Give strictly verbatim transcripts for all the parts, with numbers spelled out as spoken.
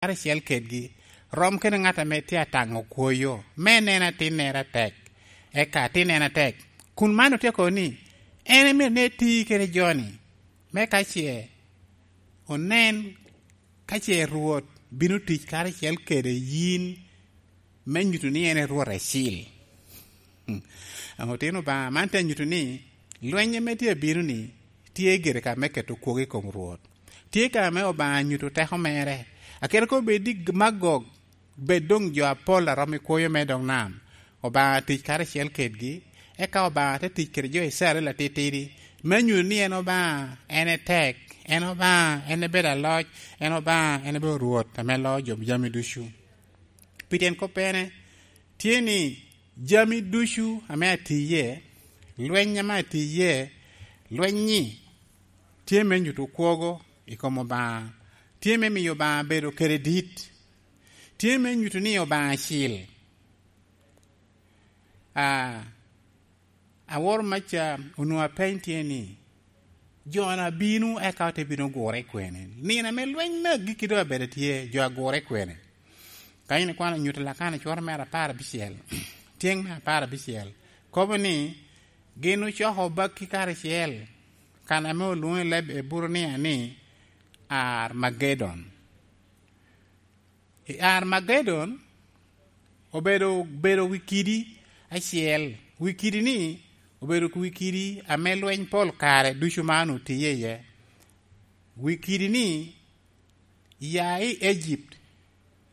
karacel kedgi, rom kede ŋat ame tye ataŋo kwoyo, me nen atinnere atek, eka atinnere atek. Kun man otyeko ni, en myero ni eti kede jo-ni, me ka ce onen, ka ce Rwot bino tic karacel kede yin, me nyuto ni en e Rwot acil. Otino Obaŋa, man te nyuto ni lweny ame tye abino-ni tye gire ka me keto kwogo i kom Rwot. Tye ka me Obaŋa nyuto teko mere. Akete kono bed ni Magog, bed doŋ jo apol a romo i kwoyo me dog nam, Obaŋa tic karacel kedgi, eka Obaŋa te tic kede jo Icrael atitidi, me nyuto ni en Obaŋa en etek, en Obaŋa en ebedo aloc, en Obaŋa en ebedo Rwot ame loo jo jami ducu. Pi tyen koppene, tye ni jami ducu ame atiye, lweny ame atiye, lweny-nyi tye me nyuto kwogo i kom Obaŋa, tye me miyo Obaŋa bedo kede dit, tye me nyuto ni Obaŋa acil. A, aworo maca onwoŋo apeny tye ni, jo-na bino eka ote bino gure kwene? Nino ame lweny me agikki doŋ abedo tye, jo agure kwene? Ka in ikwano nyuto Lakana cwero mere apar abicel, tyeŋ me apar abicel, kobo ni, gin ocoko bakki karacel, kan ame olwoŋo i leb Eburania ni Armagedon. I Armagedon obedo, bedo wi kidi acel. Wi kidi-ni obedo wi kidi ame lweny pol kare ducu man otiye iye. Wi kidi-ni ya i Egypt,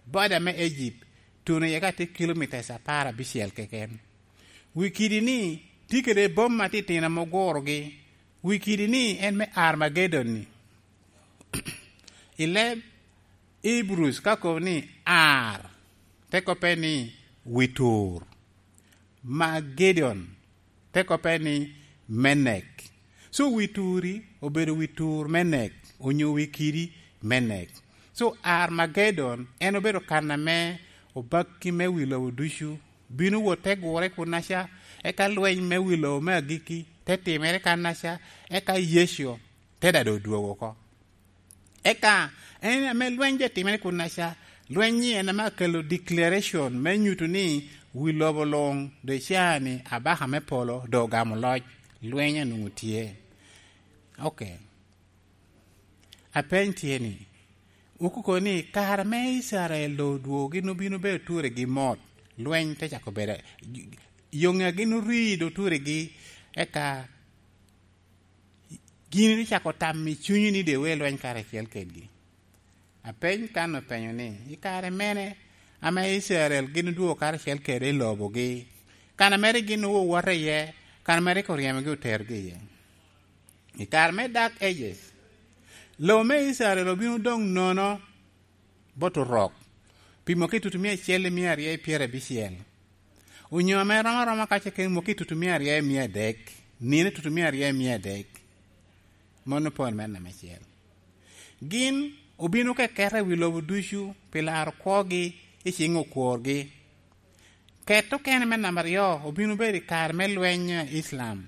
boda me Egypt, tuno iye ka tye kilomitas apar abicel keken. Wi kidi-ni tye kede boma atitino ame ogurogi. Wi kidi-ni en me Armagedon-ni. I leb Hebrews ka kobo ni Ar, te koppe ni wi tur. Magedon, te koppe ni me nek. So wi turi obedo wi tur me nek, onyo wi kidi me nek. So Armagedon en obedo kan ame obakki me wi lobo ducu bino wot te gure kunnaca, eka lweny me wi lobo me agikki te timere kannaca, eka Yecu te dado odwogo oko. Eka en ame lweny doŋ timere kunnaca, lweny-nyi en ame akelo declaration me nyuto ni wi lobo luŋ doŋ icaa ni abaka me polo doŋ ogamo loc, lweny onwoŋo tye. Ok. Apeny tye ni, okuko ni kare me Icrael doŋ odwogo gin obino bedo turegi mot, lweny te cako bedo, yoŋe gin ori doŋ turegi, eka gin icako tam i cunyi ni doŋ iwe lweny karacel kedgi. Apeny kan openyo ni, i kare mene ame Icrael gin odwogo karacel kede i lobogi, kan a mere gin owowota iye, kan a mere rik oryemogi oterogi iye? I kare me Dark Ages, lobo me Icrael obino doŋ nono bot Orok pi mwaki tutumia acel i mia aryo i pyerabicel, onyo ame rom aroma ka ce kene mwaki tutumia aryo i mia adek, nino tutumia aryo i mia adek. Mano pol me namba acel. Gin obino keketa i wi lobo ducu pi laro kwogi i ciŋ okworgi. Ket okene me namba aryo obino bedo i kare me lweny a Iclam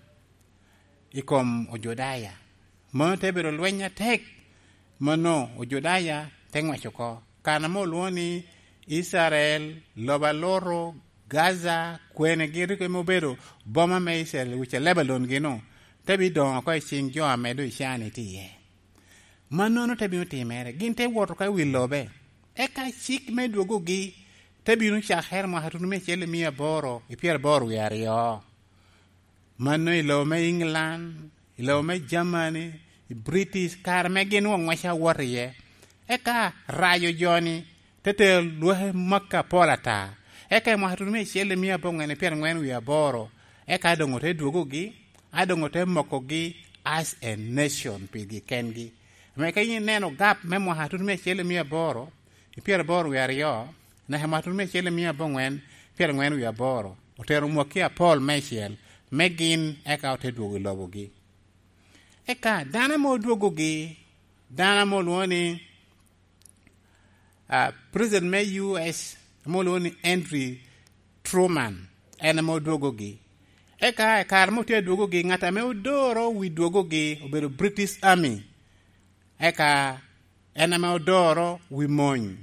i kom Ojudaya. Mano te bedo lweny atek. Mano Ojudaya te ŋwec oko. Kan ame olwoŋo ni Icrael, lobo alutu, Gaza, kwene gin rik eme obedo boma me Icrael i wi ca Lebanon gino, te bidoŋo oko i ciŋ jo ame doŋ Icani tye iye. Mannono te bino timere, gin te wot oko i wi lobe. Eka cik me dwogogi te bino cakere mwaka tutumia acel i mia aboro i pyeraboro wie aryo. Mano i lobo me England, i lobo me Germany, i British, kare me gin oŋwec awot iye. Eka rayo jo-ni te tero lwaki Makka apol ata. Eka i mwaka tutumia acel i mia aboŋwen i pyeraŋwen wie aboro, eka doŋ ote dwogogi, a doŋ ote mokogi as a nation pigi kengi. Ame ka in ineno gap me mwaka tutumia acel i mia aboro i pyeraboro wie aryo, naka mwaka tutumia acel i mia aboŋwen pyeraŋwen wie aboro, otero mwaki apol meicel me gin, eka ote dwogo i lobogi. Eka dano ame odwogogi, dano ame olwoŋo ni, ah, President me U S ame olwoŋo ni Henry Truman, en ame odwogogi. Eka i kare ame otye adwogogi, ŋat ame odoro wi dwogogi obedo British Army. Eka en ame odoro wi mony.